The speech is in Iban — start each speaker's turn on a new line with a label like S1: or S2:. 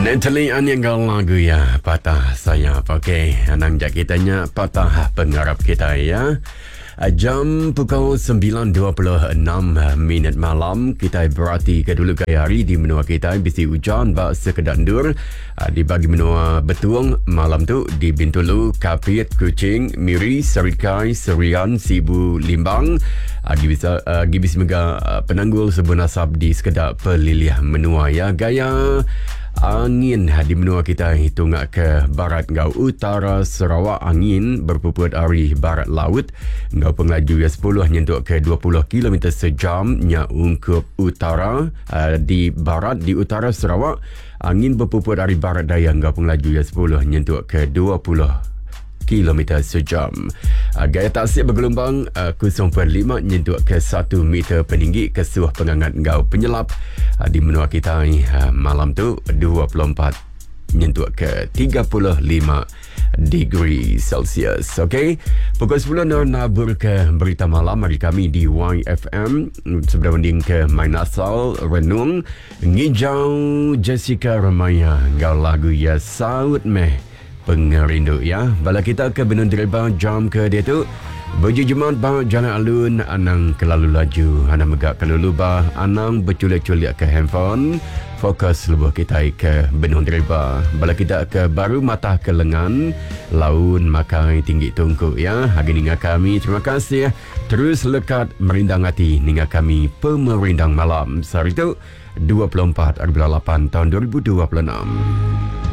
S1: Natalie Aniang enggau lagu iya Patah Sayap. Okey, anang jak kita nya patah pengarap kita ya. Jam pukul 9.26 minit malam kita berati ke dulu gaya hari di menua kita bisi ujan ba sekeda endur di bagi menua Betung malam tu di Bintulu, Kapit, Kuching, Miri, Serikai, Serian, Sibu, Limbang. Agi bisa agi bisi mega penanggul sebun asap di sekeda pelilih menua ya. Gaya angin di menua kita tunga ke barat enggau utara Sarawak angin berpuput ari barat laut enggau pengelaju ya 10 nyentuk ke 20 km sejam nya ungkup utara di barat di utara Sarawak angin berpuput ari barat daya enggau pengelaju ya 10 nyentuk ke 20 kilometer sejam. Ah, gaya tasik bergelombang 0.5 ah, nyentuk ke 1 meter peninggi kesuh pengangat enggau penyelap ah, di menua kita malam tu 24 nyentuk ke 35 degree Celsius. Okey. Pukul 10 nur nabur ke berita malam hari kami di YFM sebelum mending ke main asal renung ngijau Jessica Remaya enggau lagu ya Saut Meh. Pengerindu ya. Bala kita ke benung deriba jam ke diatu bejejemat ba jalai alun anang kelalu laju anang mega kelalu lubah anang bechulik-chulik ke handphone fokus lebuh kitai ke benung deriba. Bala kita ke baru matah ke lengan laun makai tinggi tungku ya. Agi ninga kami terima kasih terus lekat merindang ati ninga kami pemerindang malam sehari tu. 24 ari bulan 8 taun 2026.